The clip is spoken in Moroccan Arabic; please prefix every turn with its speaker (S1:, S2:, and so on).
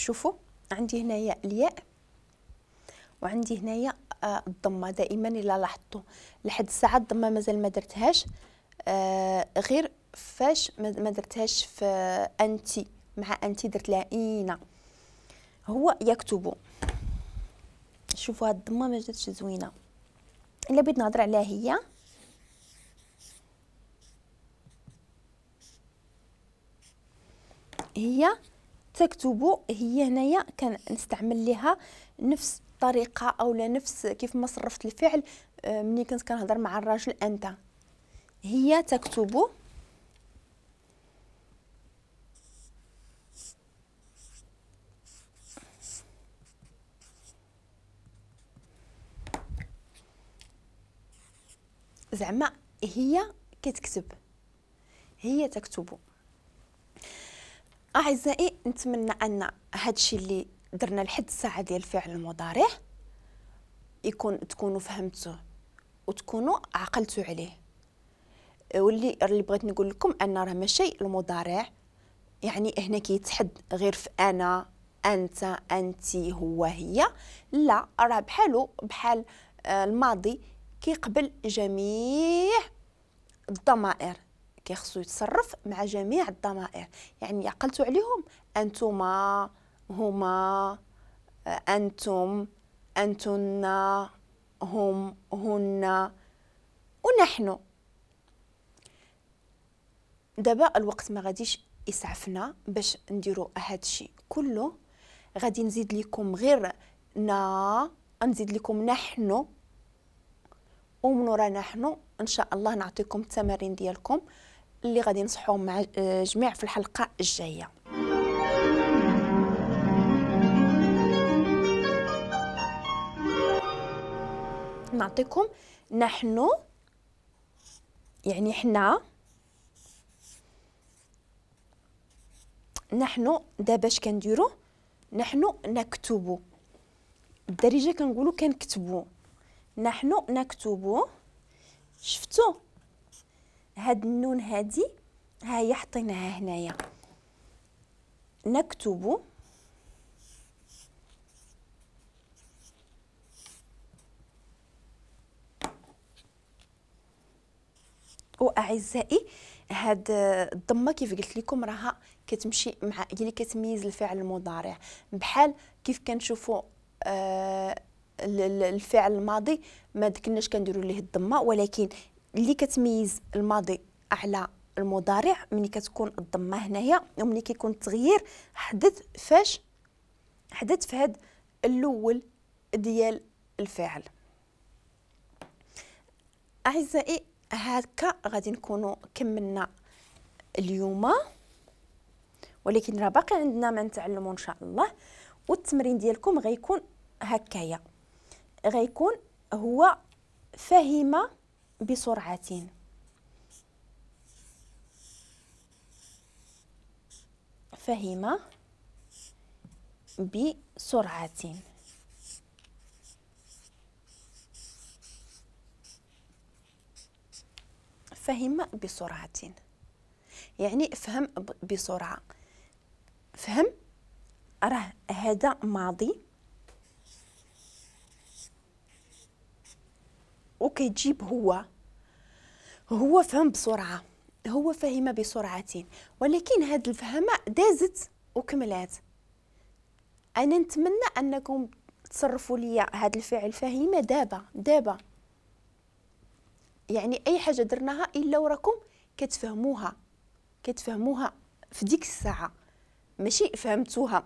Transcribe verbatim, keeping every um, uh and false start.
S1: شوفوا عندي هنايا الياء وعندي هنايا آه الضمة. دائما الا لاحظتوا لحد الساعة الضمة مازال ما درتهاش، آه غير فاش ما درتهاش في انتي مع انتي درت لها اينا. هو يكتب. شوفوا هاد الضمة ما جاتش زوينة. الا بغيت نهضر عليها هي هي تكتب، هي هنايا كنستعمل ليها نفس الطريقة او لا نفس كيف ما صرفت الفعل ملي كنت كنهضر مع الراجل انت. هي تكتب زعما هي كتكتب، هي تكتب. اعزائي نتمنى ان هادشي اللي درنا لحد الساعة ديال الفعل المضارع يكون تكونوا فهمتوه وتكونوا عقلتوا عليه. واللي اللي بغيت نقول لكم ان راه ماشي المضارع يعني هنا كيتحد غير في انا انت انت هو هي، لا راه بحالو بحال الماضي كيقبل جميع الضمائر، كيخصو يتصرف مع جميع الضمائر. يعني عقلتوا عليهم انتما هما انتم انتن هم هن ونحن. دابا الوقت ما غاديش يسعفنا باش نديرو هادشي كله، غادي نزيد لكم غير نا، نزيد لكم نحن، ومن ورا نحن ان شاء الله نعطيكم التمارين ديالكم اللي غادي نصحوهم مع جميع في الحلقة الجاية. نعطيكم نحن يعني حنا، نحن دابا اش كنديرو؟ نحن نكتبو، بالدارجة كنقولو كنكتبو، نحن نكتبو. شفتو هاد النون هادي ها هي حطيناها هنايا، نكتب واعزائي هاد الضمة كيف قلت لكم راها كتمشي مع هي اللي كتميز الفعل المضارع، بحال كيف كنشوفوا آه الفعل الماضي ما كناش كنديروا ليه الضمة، ولكن اللي كتميز الماضي على المضارع ملي كتكون الضمة هنايا وملي كيكون التغيير حدث فاش حدث في هاد الاول ديال الفعل. اعزائي هكا غادي نكونوا كملنا اليوم، ولكن راه باقي عندنا ما نتعلموا ان شاء الله. والتمرين ديالكم غيكون هكايا، غيكون هو فهم بسرعة، فهم بسرعة. فهم بسرعة يعني فهم بسرعة. فهم راه هذا ماضي وكيجيب هو هو فهم بسرعة، هو فهم بسرعة، ولكن هاد الفهمة دازت وكملات. أنا نتمنى أنكم تصرفوا لي هاد الفعل فهم دابا دابا، يعني أي حاجة درناها إلا وراكم كتفهموها كتفهموها في ديك الساعة، ماشي فهمتوها